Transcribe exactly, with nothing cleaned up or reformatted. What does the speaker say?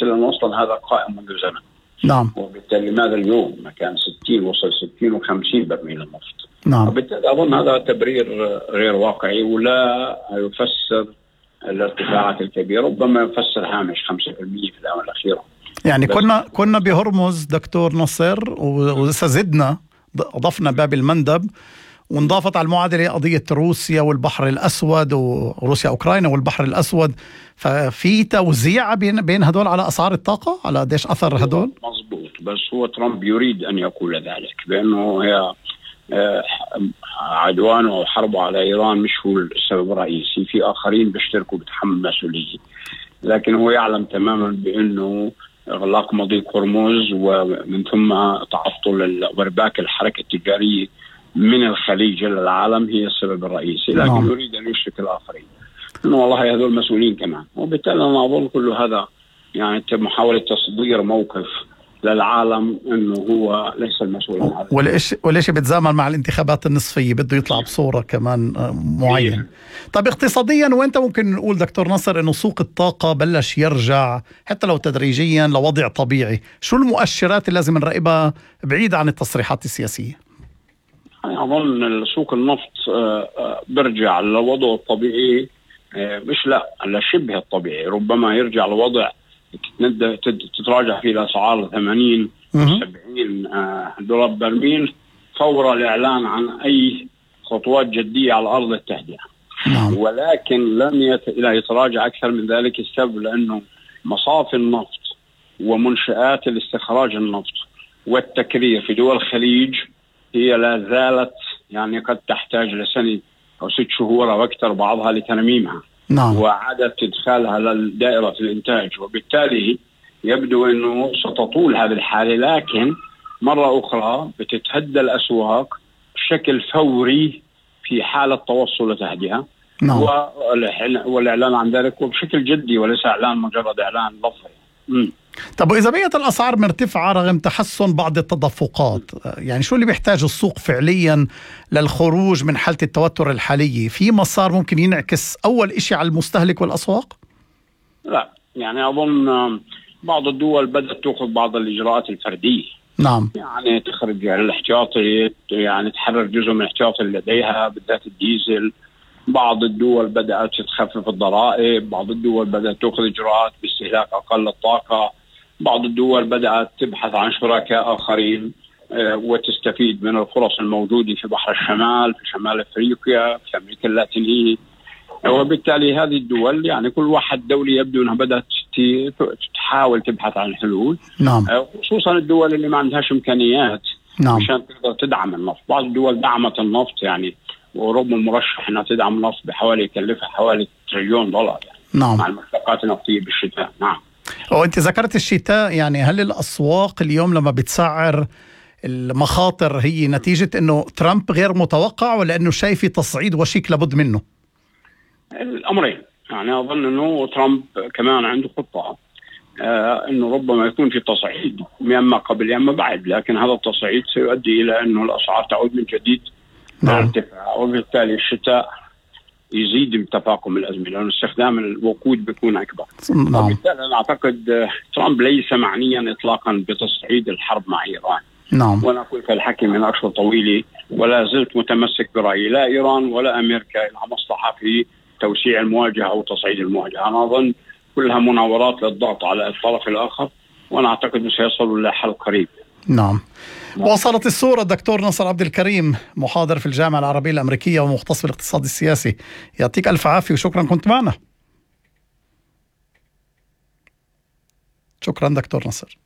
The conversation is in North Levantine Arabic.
الرئيسي، لأنه أصلا هذا قائم منذ زمن. نعم. وبالتالي لماذا اليوم ما كان ستين وصل ستين وخمسين برميل النفط؟ نعم. وبالتالي أظن هذا تبرير غير واقعي ولا يفسر الارتفاعات الكبيرة، ربما يفسر هامش خمسة بالمئة في الآونة الأخيرة. يعني كنا كنا بهرمز دكتور نصر، ولسه زدنا أضفنا باب المندب، وانضافت على المعادلة قضية روسيا والبحر الأسود، وروسيا أوكرانيا والبحر الأسود. ففي توزيع بين بين هدول على أسعار الطاقة، على قديش أثر هدول؟ مظبوط، بس هو ترامب يريد أن يقول ذلك، بأنه هي عدوانه أو حربه على إيران مش هو السبب الرئيسي، في آخرين بيشتركوا بتحمل مسؤولية، لكن هو يعلم تماما بأنه إغلاق مضيق هرمز ومن ثم تعطل وارباك الحركة التجارية من الخليج للعالم هي السبب الرئيسي، لكن نعم. يريد أن يشرك الآخرين، إنه والله هذول مسؤولين كمان. وبالتالي أنا أظن كل هذا يعني محاولة تصدير موقف للعالم إنه هو ليس المسؤول عن هذا، وليش وليش بيتزامن مع الانتخابات النصفية، بده يطلع بصورة كمان معينة. طيب اقتصاديا وين ممكن نقول دكتور نصر إنه سوق الطاقة بلش يرجع حتى لو تدريجيا لوضع طبيعي؟ شو المؤشرات اللي لازم نراقبها بعيد عن التصريحات السياسية؟ أظن سوق النفط برجع لوضعه الطبيعي، مش لا لشبه الطبيعي، ربما يرجع لوضع تتراجع فيه الأسعار ثمانين سبعين دولار برميل فور الإعلان عن أي خطوات جدية على أرض التهدئة. نعم. ولكن لن يت... يتراجع أكثر من ذلك. السبب لأنه مصافي النفط ومنشآت الاستخراج النفط والتكرير في دول الخليج هي لا زالت يعني قد تحتاج لسنة أو ست شهور أو أكثر بعضها لترميمها. نعم. وعادة إدخالها لدائرة الإنتاج، وبالتالي يبدو أنه ستطول هذه الحالة، لكن مرة أخرى بتتهدى الأسواق بشكل فوري في حالة توصل لتهدئة. نعم. والإعلان عن ذلك وبشكل جدي وليس إعلان مجرد إعلان لفظي. طب وإذا بقيت الأسعار مرتفعة رغم تحسن بعض التدفقات، يعني شو اللي بيحتاج السوق فعليا للخروج من حالة التوتر الحالية؟ في مسار ممكن ينعكس أول إشي على المستهلك والأسواق؟ لا، يعني أظن بعض الدول بدأت تأخذ بعض الإجراءات الفردية. نعم. يعني تخرج الاحتياطي، يعني تحرر جزء من الاحتياطي اللي لديها بالذات الديزل. بعض الدول بدأت تخفف الضرائب، بعض الدول بدأت تأخذ إجراءات باستهلاك أقل الطاقة، بعض الدول بدأت تبحث عن شركاء آخرين وتستفيد من الفرص الموجودة في بحر الشمال، في شمال أفريقيا، في أمريكا اللاتينية. وبالتالي هذه الدول يعني كل واحد دولي يبدو أنها بدأت تحاول تبحث عن حلول. نعم. خصوصا الدول اللي ما عندهاش إمكانيات. نعم. عشان تقدر تدعم النفط. بعض الدول دعمت النفط، يعني وأوروبا مرشح أنها تدعم النفط بحوالي يكلفها حوالي تريليون دولار يعني. نعم. مع المشتقات النفطية بالشتاء. نعم. وأنت ذكرت الشتاء، يعني هل الأسواق اليوم لما بتسعر المخاطر هي نتيجة أنه ترامب غير متوقع، ولا أنه شايف تصعيد وشيك لابد منه؟ الأمرين. يعني أظن أنه ترامب كمان عنده خطة آه أنه ربما يكون في تصعيد يما قبل يما بعد، لكن هذا التصعيد سيؤدي إلى أنه الأسعار تعود من جديد للارتفاع. وبالتالي الشتاء يزيد من تفاقم الأزمة لأن استخدام الوقود بيكون أكبر. نعم. وبالتالي أنا أعتقد ترامب ليس معنيا إطلاقا بتصعيد الحرب مع إيران. نعم. وأنا أقول في الحكي من أشهر طويلة ولا زلت متمسك برأيي، لا إيران ولا أمريكا لها مصلحة في توسيع المواجهة أو تصعيد المواجهة. أنا أظن كلها مناورات للضغط على الطرف الآخر، وأنا أعتقد أنه سيصلوا إلى حل قريب. نعم. وصلت الصورة. دكتور نصر عبد الكريم، محاضر في الجامعة العربية الأمريكية ومختص بالاقتصاد السياسي، يعطيك ألف عافية وشكرا كنت معنا. شكرا دكتور نصر.